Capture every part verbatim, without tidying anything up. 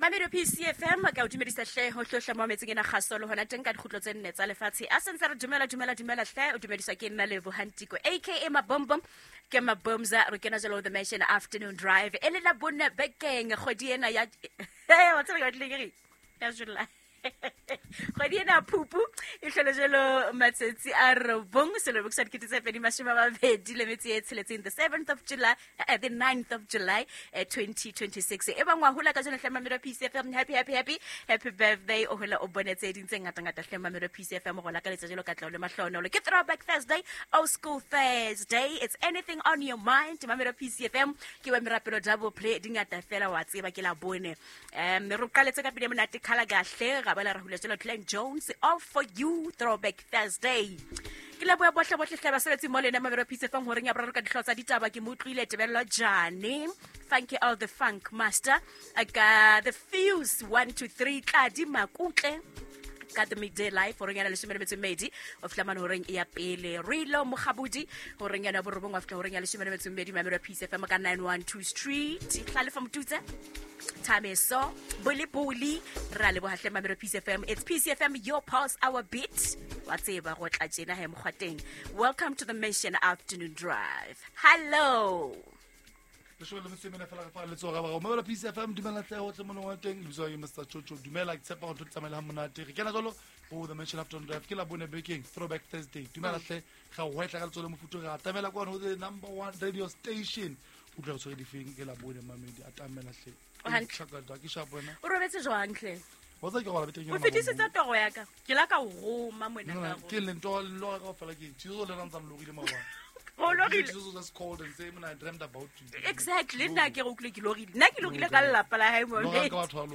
Mamelodi P C F M ka o dumedisa hle ho hlohla mo metseng ena kgaso le hona teng ka dikgutlo tse nne tsa lefatshe. A sentse re dumela dumela dumela hle o dumediswa ke nna Lebo Hantiko aka Mabombom ke Mabomza re kena jalo the Mansion Afternoon Drive e le la bonne bekeng kgwedi ena ya wa tseba ke batlile ke re ya July. Kgwedi ena phupu e hlole jalo matsatsi a robong selemo sa dikete tse pedi mashome a mabedi le metso e tsheletseng the seventh of July uh, the ninth of July uh, twenty twenty-six. E bang wa hola ka jeno hle Mamelodi P C F M happy happy happy happy birthday o hola o bone tse ding tse ngata ngata hle Mamelodi P C F M go la ka letsa jalo ka tla le mahlonolo ke Throwback Thursday, Old School Thursday. It's anything on your mind Mamelodi P C F M ke wa merapelo double play di ngata fela wa tseba ke la bone um re qaletse ka pele monate khala kahle ga bala ra hula jalo Glenn Jones all for you Throwback Thursday. Ke leboha bohle bohle hle basebetsi mo lena Mamelodi P C F M horeng ya boraro ka dihlooho tsa ditaba ke mo utlwile Tebello Jane Funky all the Funk Master ka the Fuse one two three Tladi Makutle ka the midday life horeng ya leshome le metso e mmedi o fihla mane horeng ya pele Rilo Mokgabudi horeng ya borobong wa fihla horeng ya leshome le metso e mmedi Mamelodi P C F M ka nine one two Street Hlalefa Motutse Thameso Boli Boli ra leboha hle Mamelodi P C F M. It's P C F M, your pulse, our beat. Wa tseba go tla tjena he mokgwateng. Welcome to the Mission Afternoon Drive. Hello. Leshome le metso e mene fela re fa letsoho ga ba Mamelodi P C F M dumela hle ho tle mona wa teng lebitso ke Mister Chocho dumela ke tshepa go tsamaela ha monate re kena jalo ho the Mansion Afternoon Drive ke la bone bekeng Throwback Thursday dumela hle ga o hwetla ka letsoho le mofuthu re atamela kwa ho the number one radio station o tla re tshwere difeng ke la bone Mamelodi atamela hle o robetse jwang hle wa tsa ke go la beteng o fetisitse toro ya ka ke la ka o roma mona ka ke le ntho lo ka fela ke tshitso le rantsa lorile maobane o lorile Jesus just called and say when I dreamt about you. Exactly nna ke re utlwe ke lorile nna ke lorile ka lelapa la hae mo no ka batho ba lo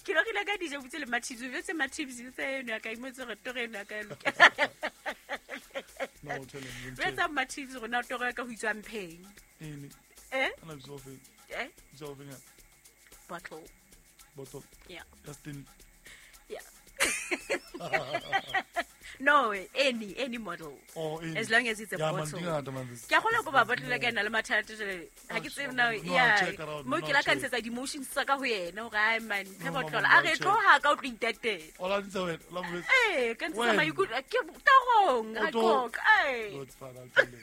ke lorile ka dijo butse le mathibi butse mathibi tse eno ya ka imotse re toro eno ya ka loka no tell him re tsa mathibi rona toro ya ka ho itswa mpheng ene eh ana bitso fe eh bitso fe bottle bottle yeah Justin yeah no any any model oh, any. As long as it's a yeah, bottle ke a kgona go ba bottle ka ena le mathata jale ha ke tsebe na yeah mo ke la ka ntshetsa di-emotions tsa ka ho yena hore ai man phe bottle a re tloha ka o tlo itatela o la ntse wena la mo eh ka ntshetsa maikutlo ke torong a coke eh no it's fine I'll tell you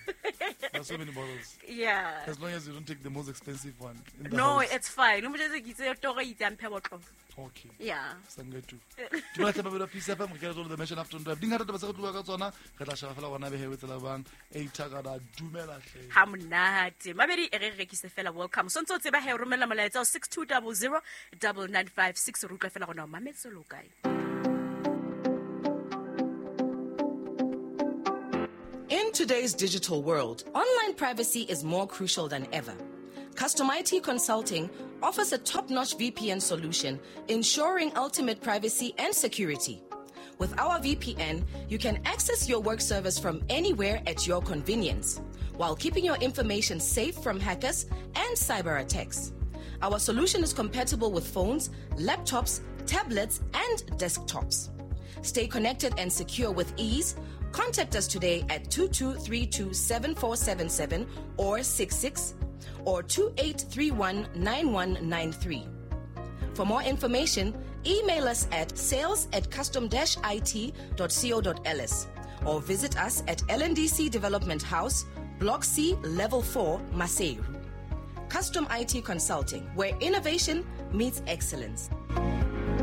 there's so many bottles yeah as long as you don't take the most expensive one in the no house. It's fine o mo jetse ke itse toro itse mphe bottle. Okay. Yeah. Sangetu. Dumela hle Mamelodi P C F M re kena jalo the Mansion Afternoon Drive. Dingata taba tse re tloha ka tsona re tla sheba fela gona behe tsela bang e ithakada dumela hle. Ha monate. Mabedi e re rekise fela welcome. Sontso tseba he romela molaetsa six two zero zero nine nine five six re utlwa fela gona mametse lo kae. In today's digital world, online privacy is more crucial than ever. Custom I T Consulting offers a top-notch V P N solution, ensuring ultimate privacy and security. With our V P N, you can access your work servers from anywhere at your convenience, while keeping your information safe from hackers and cyber attacks. Our solution is compatible with phones, laptops, tablets, and desktops. Stay connected and secure with ease. Contact us today at two two three two seven four seven seven or six six or two eight three one nine one nine three. For more information, email us at sales at custom dash it dot co dot l s or visit us at L N D C Development House, Block C, Level four, Maseru. Custom I T Consulting, where innovation meets excellence.